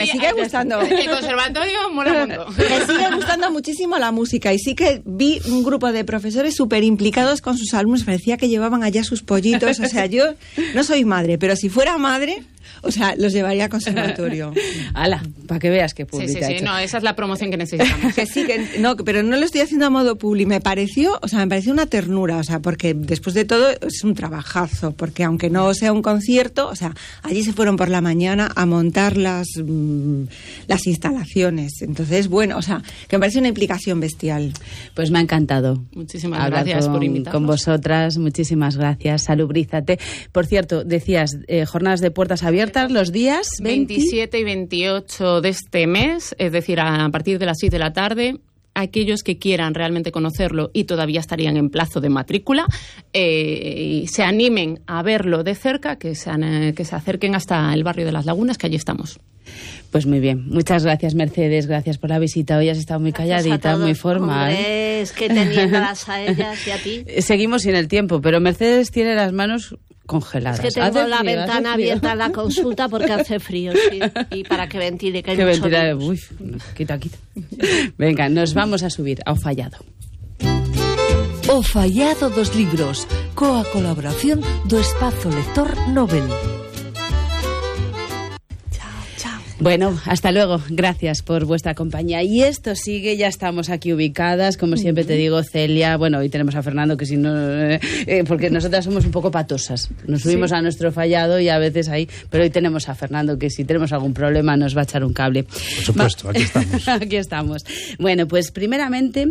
sigue gustando. El conservatorio mola mucho. Me sigue gustando muchísimo la música y sí que vi un grupo de profesores súper implicados con sus alumnos, parecía que llevaban allá sus pollitos, o sea, yo no soy madre, pero si fuera madre, o sea, los llevaría a conservatorio. ¡Hala! Para que veas qué pública. Sí, no, esa es la promoción que necesitamos. Que sí, no, pero no lo estoy haciendo a modo publi, me pareció una ternura, o sea, porque después de todo es un trabajazo, porque aunque no sea un concierto, o sea, allí se fueron por la mañana a montar las instalaciones, entonces, bueno, o sea, que me parece una implicación bestial. Pues me ha encantado. Muchísimas gracias por invitarnos. Con vosotras, muchísimas gracias. Salubrízate. Por cierto, decías, jornadas de puertas abiertas los días 27 y 28 de este mes, es decir, a partir de las 6 de la tarde. Aquellos que quieran realmente conocerlo y todavía estarían en plazo de matrícula, y se animen a verlo de cerca, que se acerquen hasta el barrio de Las Lagunas, que allí estamos. Pues muy bien. Muchas gracias, Mercedes. Gracias por la visita. Hoy has estado muy calladita, muy formal. Hombre, es que teniéndolas a ellas y a ti. Seguimos sin el tiempo, pero Mercedes tiene las manos congeladas. Es que tengo la ventana abierta a la consulta porque hace frío, sí. Y para que ventile, que hay mucho virus. Uy, quita. Venga, nos vamos a subir ao Fallado. O Fallado dos libros, coa colaboración do Espazo Lector Nobel. Bueno, hasta luego. Gracias por vuestra compañía. Y esto sigue, ya estamos aquí ubicadas. Como siempre te digo, Celia, bueno, hoy tenemos a Fernando, que si no... porque nosotras somos un poco patosas. Nos subimos a nuestro Fallado y a veces ahí... Pero hoy tenemos a Fernando, que si tenemos algún problema nos va a echar un cable. Por supuesto, aquí estamos. Aquí estamos. Bueno, pues primeramente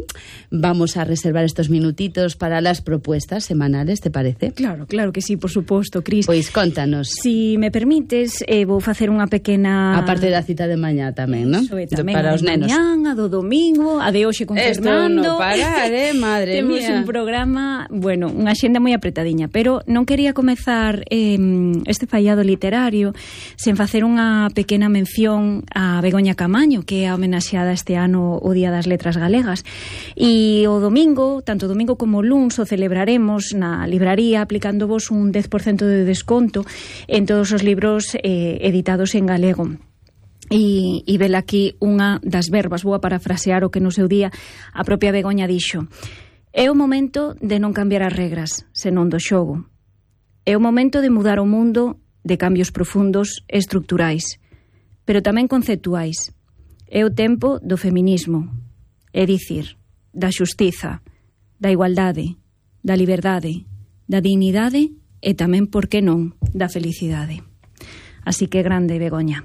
vamos a reservar estos minutitos para las propuestas semanales, ¿te parece? Claro que sí, por suposto, Cris. Pois contanos. Si me permites, vou facer unha pequena... Aparte da cita de mañá tamén, non? Para os nenos. Mañá, a do domingo, a de hoxe con Fernando. Esto non parar, madre Temos mía. un programa, bueno, unha xenda moi apretadiña, pero non quería comezar este fallado literario sen facer unha pequena mención a Begoña Camaño, que é homenaxeada este ano o Día das Letras Galegas. E o domingo, tanto o domingo como o luns, o celebraremos na libraría aplicándovos un 10% de desconto en todos os libros editados en galego. E vela aquí unha das verbas, vou a parafrasear o que no seu día a propia Begoña dixo: é o momento de non cambiar as regras, senón do xogo. É o momento de mudar o mundo de cambios profundos e estructurais, pero tamén conceptuais. É o tempo do feminismo, é dicir, da xustiza, da igualdade, da liberdade, da dignidade e tamén, por que non, da felicidade. Así que grande, Begoña.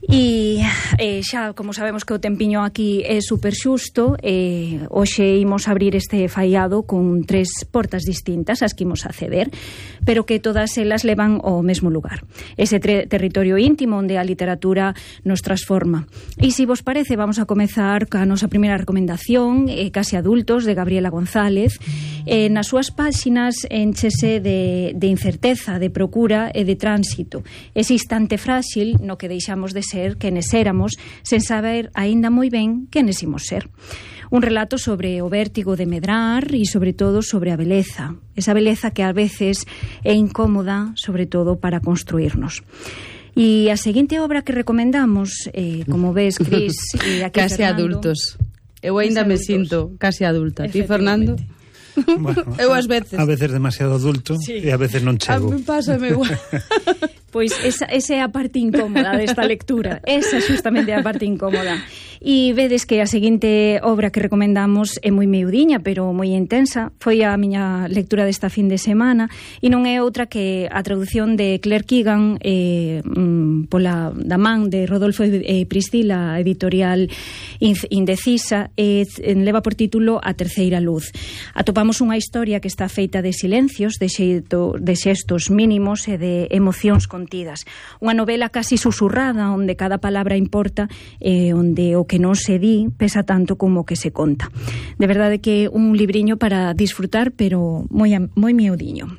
E xa, como sabemos que o tempiño aquí é super xusto, hoxe imos abrir este fallado con 3 portas distintas as que imos acceder, pero que todas elas levan ao mesmo lugar, ese territorio íntimo onde a literatura nos transforma. E se vos parece, vamos a comezar ca nosa primeira recomendación, Casi adultos, de Gabriela González. Nas súas páxinas enchese de incerteza, de procura e de tránsito, ese instante frágil no que deixamos de ser quenes éramos, sen saber aínda moi ben quenes imos ser. Un relato sobre o vértigo de medrar e, sobre todo, sobre a beleza. Esa beleza que a veces é incómoda, sobre todo, para construirnos. E a seguinte obra que recomendamos, como ves, Cris, e aquí Casi Fernando, adultos. Eu ainda me sinto case adulta. Ti, Fernando? Bueno, eu ás veces. A veces demasiado adulto, sí. E a veces non chego. A mí pásame igual. Pois esa é a parte incómoda desta lectura. Esa xustamente é a parte incómoda. E vedes que a seguinte obra que recomendamos é moi miudiña, pero moi intensa. Foi a miña lectura desta fin de semana e non é outra que a traducción de Claire Keegan pola da man de Rodolfo e Priscila, editorial Indecisa, leva por título A terceira luz. Atopamos unha historia que está feita de silencios, de xestos mínimos e de emocións contidas. Unha novela casi susurrada onde cada palabra importa e onde o que non se di pesa tanto como o que se conta. De verdade que un libriño para disfrutar, pero moi miudiño.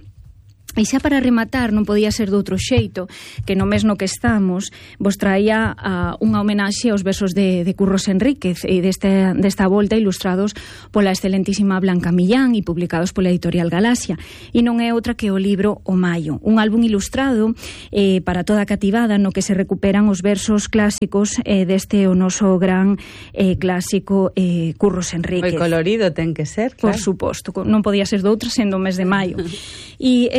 E xa para rematar, non podía ser de outro xeito que no mes no que estamos vos traía unha homenaxe aos versos de Curros Enríquez e desta volta ilustrados pola excelentísima Blanca Millán e publicados pola editorial Galaxia, e non é outra que o libro O Maio, un álbum ilustrado para toda a cativada no que se recuperan os versos clásicos deste o noso gran clásico Curros Enríquez. Moi colorido ten que ser, claro. Por suposto, non podía ser de outra sendo o mes de maio. E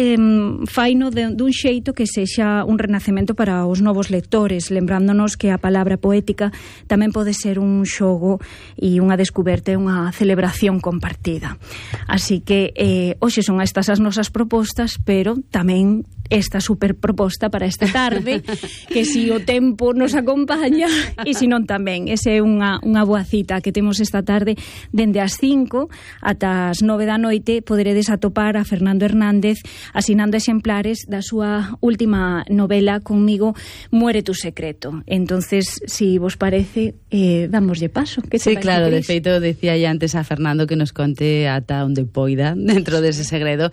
faino dun xeito que sexa un renacemento para os novos lectores, lembrándonos que a palabra poética tamén pode ser un xogo e unha descuberta e unha celebración compartida. Así que hoxe son estas as nosas propostas, pero tamén esta super proposta para esta tarde, que si o tempo nos acompaña e si non tamén. Esa é unha boa cita que temos esta tarde dende as 5 ata as 9 da noite. Poderedes atopar a Fernando Hernández asinando exemplares da súa última novela Conmigo muere tu secreto. Entonces, si vos parece, damoslle paso. Que sí, claro, de feito, decía ya antes a Fernando que nos conte ata onde poida dentro dese segredo.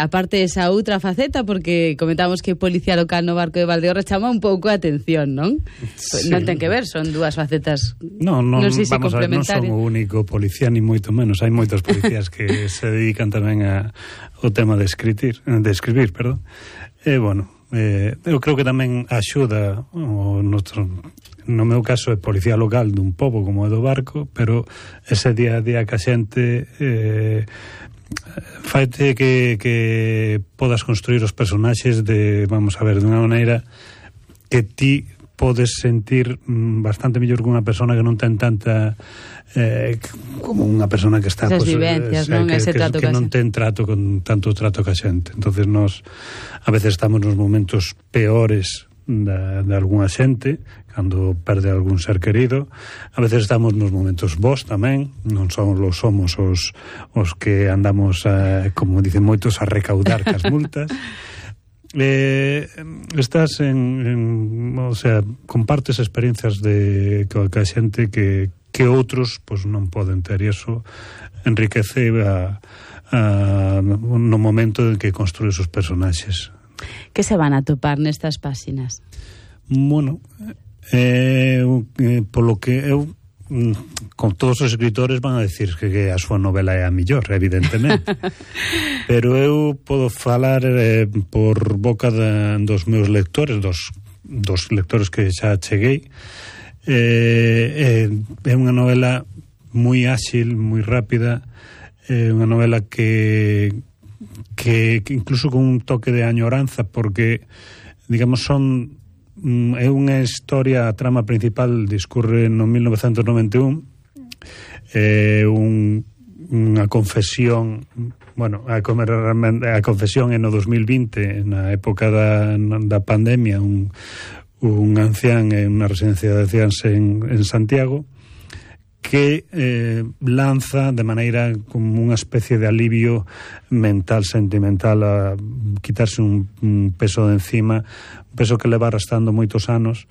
Aparte esa outra faceta, porque comentamos que policía local no barco de Valdeorras chama un pouco a atención, non? Sí. Non ten que ver, son dúas facetas non sei se vamos a ver, non son o único policía ni moito menos, hai moitos policías que se dedican tamén ao tema de escribir, perdón. Bueno, eu creo que tamén axuda no meu caso é policía local dun pobo como é do barco, pero ese día a día que a xente faite que podas construir os personaxes vamos a ver, dunha maneira que ti podes sentir bastante mellor que unha persona que non ten tanta como unha persona que está esas vivencias, non? Que non ten tanto trato ca xente. Entonces nos a veces estamos nos momentos peores de algunha xente cando perde algún ser querido, a veces estamos nos momentos bons tamén, non somos os que andamos como dicen moitos a recaudar cas multas. Estás o sea, compartes experiencias ca xente que outros pues, non poden ter, e iso enriquece no momento en que construes os personaxes. Que se van a topar nestas páxinas? Bueno, polo que eu con todos os escritores van a decir que a súa novela é a mellor, evidentemente. Pero eu podo falar por boca dos meus lectores, dos lectores que xa cheguei. É unha novela moi áxil, moi rápida, unha novela que incluso con un toque de añoranza, porque digamos é unha historia, a trama principal discurre no 1991, unha confesión, bueno, a confesión é no 2020, na época da pandemia, un ancián en unha residencia de anciáns en Santiago, que lanza de maneira como unha especie de alivio mental, sentimental, a quitarse un peso de encima, un peso que leva arrastrando moitos anos,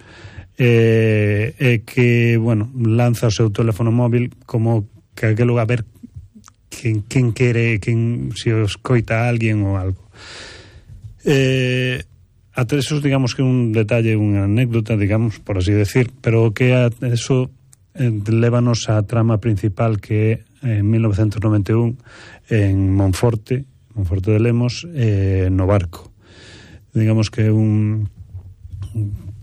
e que, bueno, lanza o seu teléfono móvil como que aquelo a ver quen quere, se o escoita a alguén ou algo. Ata eso, digamos que un detalle, unha anécdota, digamos, por así decir, pero que eso lévanos á trama principal, que é en 1991 en Monforte de Lemos, no barco. Digamos que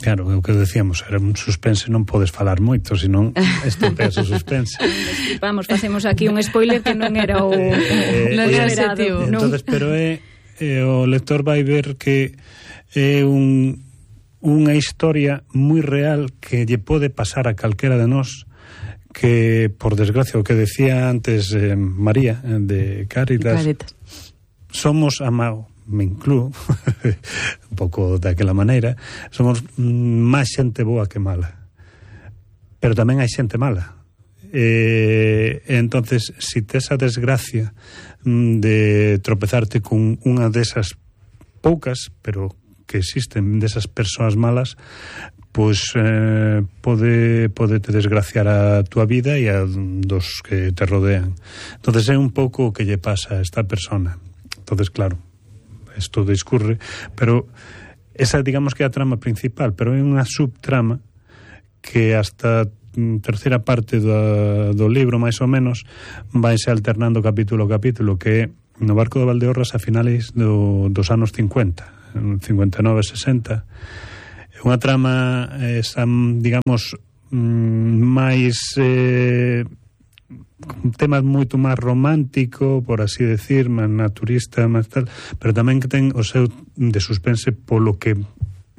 claro, é o que decíamos, era un suspense, non podes falar moito, senón estropeas o suspense. Vamos, facemos aquí un spoiler que non era o objetivo. Entonces, pero o lector vai ver que é unha historia moi real que lle pode pasar a calquera de nós, que, por desgracia, o que decía antes María, de Cáritas, somos me inclúo un pouco daquela maneira, somos máis xente boa que mala, pero tamén hai xente mala. Entonces, si tes a desgracia de tropezarte con unha desas poucas, pero que existen, desas persoas malas, pois pode te desgraciar a túa vida e a dos que te rodean. Entonces é un pouco o que lle pasa a esta persona. Entonces, claro, isto discurre, pero esa digamos que é a trama principal, pero é unha subtrama que hasta terceira parte do libro, máis ou menos, vaise alternando capítulo a capítulo, que é no barco de Valdeorras a finales dos anos 50, 59-60. É unha trama, digamos, máis tema moito máis romántico, por así decir, máis naturista, máis tal, pero tamén que ten o seu de suspense polo que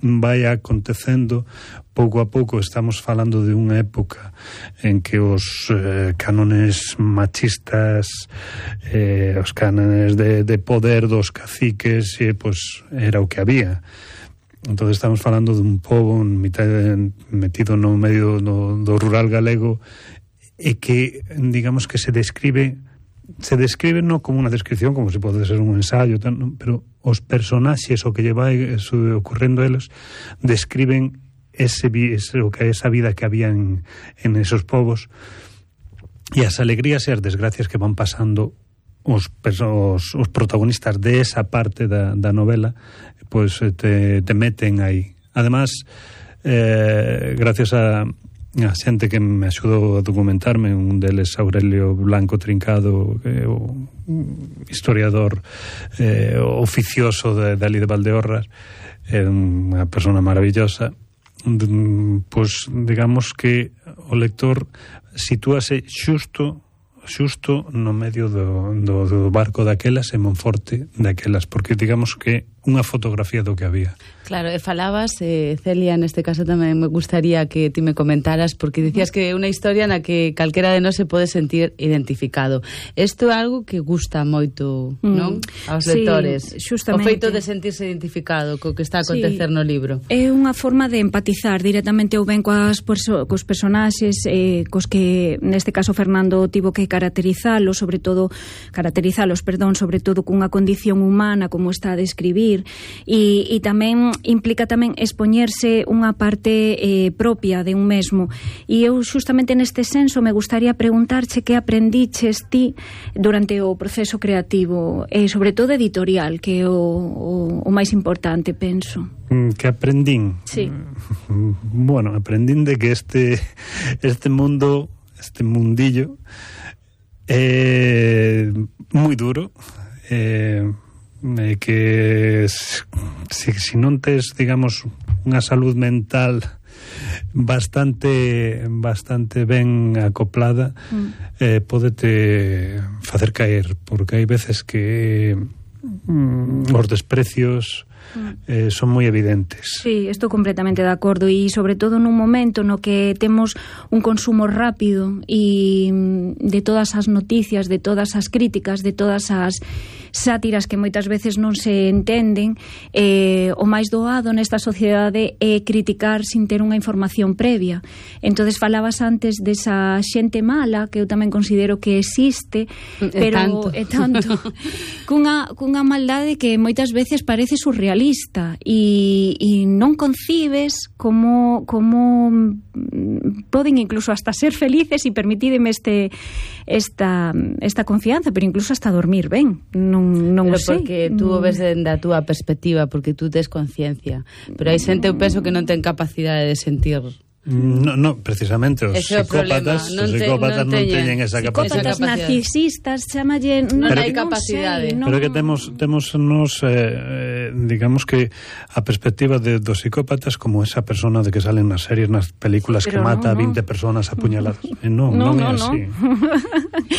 vai acontecendo pouco a pouco. Estamos falando de unha época en que os cánones machistas, os cánones de poder dos caciques, pues era o que había. Entón estamos falando dun pobo metido no medio do rural galego, e que, digamos, que se describe non como unha descripción, como se pode ser un ensayo, tal, ¿no? Pero os personaxes, o que lle vai ocurrendo a eles, describen esa vida que había en esos povos, e as alegrías e as desgracias que van pasando os protagonistas de esa parte da novela, pues te meten aí. Además, gracias a xente que me axudou a documentarme, un deles Aurelio Blanco Trincado, que é o historiador oficioso de ali de Valdeorras, é unha persona maravillosa. Pois digamos que o lector sitúase xusto no medio do barco daquelas e Monforte daquelas, porque digamos que unha fotografía do que había. Claro, e falabas, Celia, neste caso tamén me gustaría que ti me comentaras, porque dicías que é unha historia na que calquera de nós se pode sentir identificado. Isto é algo que gusta moito, non? Aos lectores. Justamente. O feito de sentirse identificado co que está a acontecer no libro. É unha forma de empatizar directamente ou ben cos personaxes, cos que neste caso Fernando tivo que caracterizalos, sobre todo cunha condición humana como está a describir, e tamén implica tamén expoñerse unha parte propia de un mesmo. E eu justamente neste senso me gustaría preguntarche que aprendiches ti durante o proceso creativo, e sobre todo editorial, que é o máis importante, penso. Que aprendín? Sí. Bueno, aprendín de que este mundo, este mundillo é moi duro, que si non tes, digamos, unha salud mental bastante ben acoplada, pódete facer caer, porque hai veces que os desprecios son moi evidentes. Sí, estou completamente de acordo, e sobre todo nun momento no que temos un consumo rápido e de todas as noticias, de todas as críticas, de todas as sátiras que moitas veces non se entenden, o máis doado nesta sociedade é criticar sin ter unha información previa. Entonces falabas antes desa xente mala, que eu tamén considero que existe, pero é tanto cunha maldade que moitas veces parece surrealista, e non concibes como poden incluso hasta ser felices, e permitídeme esta confianza, pero incluso hasta dormir ben. Non o sei. Porque tú o ves dende a túa perspectiva, porque tú tes conciencia, pero hai xente, eu penso, que non ten capacidade de sentir. No, precisamente os psicópatas non teñen esa capacidade. Psicópatas narcisistas, chamalle, non hai capacidade. Pero que temos nos digamos que a perspectiva dos psicópatas como esa persona de que salen nas series, nas películas, que mata a 20 personas apuñaladas. Non é así.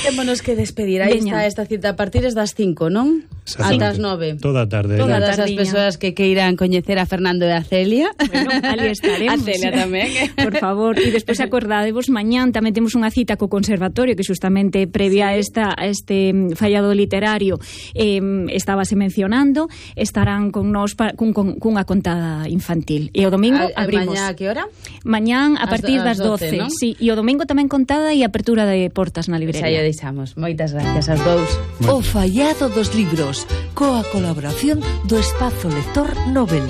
Témonos que despedir. Aí está esta cita a partir das 5, non? Ata as 9. Toda a tarde. Todas as persoas que queiran coñecer a Fernando e a Celia. Bueno, ali estaremos. A Celia tamén. Por favor, e despois acordadevos, mañán tamén temos unha cita co Conservatorio, que justamente previa a este fallado literario estábase mencionando, estarán con nós cunha contada infantil. E o domingo abrimos. Mañá a que hora? Mañán a partir das 12, ¿no? Sí, e o domingo tamén contada e apertura de portas na librería. Xa lle deixamos. Moitas gracias aos dous. O fallado dos libros, coa colaboración do Espazo Lector Nobel.